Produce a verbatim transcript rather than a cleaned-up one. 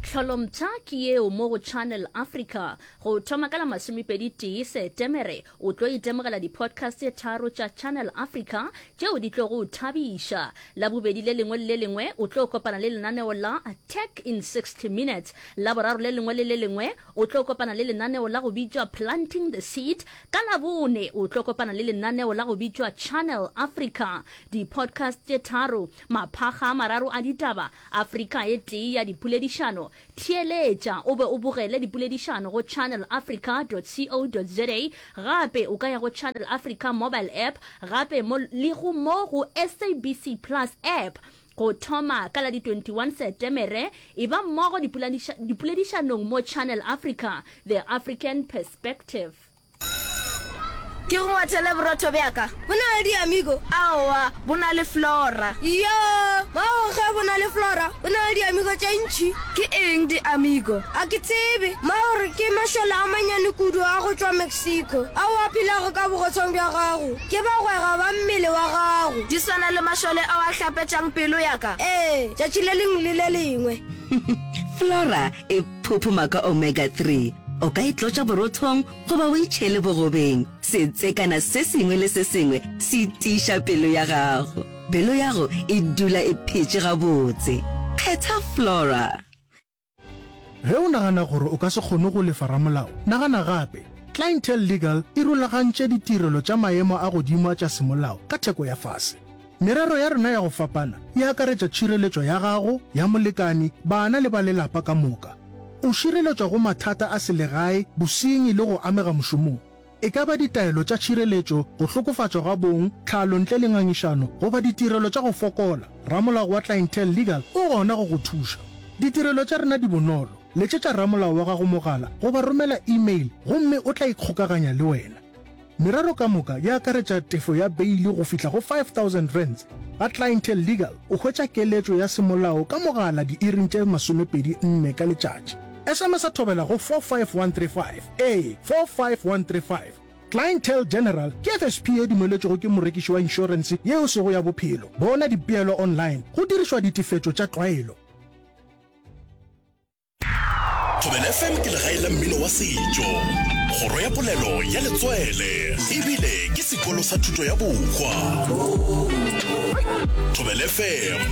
Tlholompsha ke yeo mo go Channel Africa. Go thoma ka la masomepedi tee Setemere, o tlo itemogela di-podcast tše tharo tša Channel Africa tšeo di tlo go thabiša. Labobedi le lengwe le le lengwe o tlo kopana le lenaneo la Tech in sixty Minutes. Laboraro le lengwe le le lengwe o tlo kopana le lenaneo la go bitšwa Planting the Seed. Ka Labone o tlo kopana le lenaneo la go bitšwa Channel Africa. Di-podcast tše tharo, maphakga a mararo a ditaba, Afrika e tee ya dipoledišano. Theeletša o be o bogele dipoledišano go channelafrica dot co dot za. Gape o ka ya go Channel Africa mobile app gape mo le go mo go S A B C Plus app. Go thoma ka la di twenty one Setemere, eba mmogo dipoledišanong mo Channel Africa, The African Perspective. Ke go ngwathele borotho bja ka. Bo na le diamigo? Aowa, bo na le flora. Iyoo! Mago ge bo na le flora, bo na le diamigo tše ntši. Ke eng diamigo? A ke tsebe. Ma o re ke mašole a manyane kudu a go tšwa Mexico ao a phelago ka bogothong bja gago. Ke bagwera ba mmele wa gago. Di swana le mašole ao a hlapetšang pelo ya ka. Ee, tšatši le lengwe le le lengwe. Flora e phophoma ka omega three. O ka e tlotša borothong goba o e tšhele bogobeng. Setsekana se sengwe le se sengwe se tiiša pelo ya gago. Pelo yago e dula e phetše gabotse. Kgetha Flora. Ge o nagana gore o ka se kgone go lefa ramolao, nagana gape. Clientele Legal e rulagantše ditirelo tša maemo a godimo tša semolao ka theko ya fase. Merero ya rena ya go fapana e akaretša tšhireletšo ya gago, ya molekani, bana le ba lelapa ka moka. O šireletšwa go mathata a selegae, bosenyi le go amega mošomong. E ka ba ditaelo tša tšhireletšo, go hlokofatšwa ga bong, tlhalo ntle le ngangišano, goba ditirelo tša go fokola, ramolao wa Clientele Legal o gona go go thuša. Ditirelo tša rena di bonolo. Letšetša ramolao wa gago mogala goba romela email gomme o tla ikgokaganya le wena. Merero ka moka e akaretša tefo ya beili go fihla go five thousand rands. Ga Clientele Legal o hwetša keletšo ya semolao ka mogala diiring tše masomepedi nne ka letšatši. S M S a thobela go four five one three five, ee, four five one three five. Clientele General ke F S P ye dumeletšwego ke morekiši wa inšorense ye e sego ya bophelo. Bona dipeelo online go dirišwa ditefetšo tša tlwaelo. Thobela F M ke legae la mmino wa setšo, kgoro ya polelo ya letswele, ebile ke sekolo sa thuto ya bohwa. Thobela F M.